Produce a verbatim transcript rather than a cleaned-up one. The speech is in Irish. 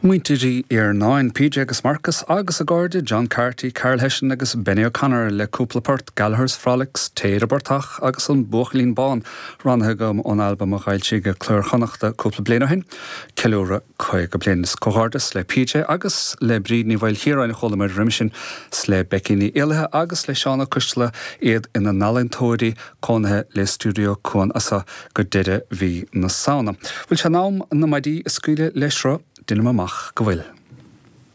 Muintir Uí Iarnáin, PJ agus Marcus agus a gcairde John Carty, Carl Hession agus Benny O'Connor le cúpla port Gallagher's Frolics, Téire Bortach agus an Buachaillín Bán roghnaithe agam ón albam a d'fhoilsigh Cló Iar-Chonnachta cúpla bliain ó shin, ceiliúradh caoga bliain is comhghairdeas le PJ agus le Bríd Ní Mhaoilchiaráin a chualamar roimhe sin 's le Becky Ní Éallaithe agus le Seán Ó Coisteala iad ina n-ealaíontóirí cónaithe le Stiúideo Cuan as seo go deireadh mhí na Samhna. Bhfuil sé in am na maidí a scaoileadh le sruth? Déanaim amach go bhfuil.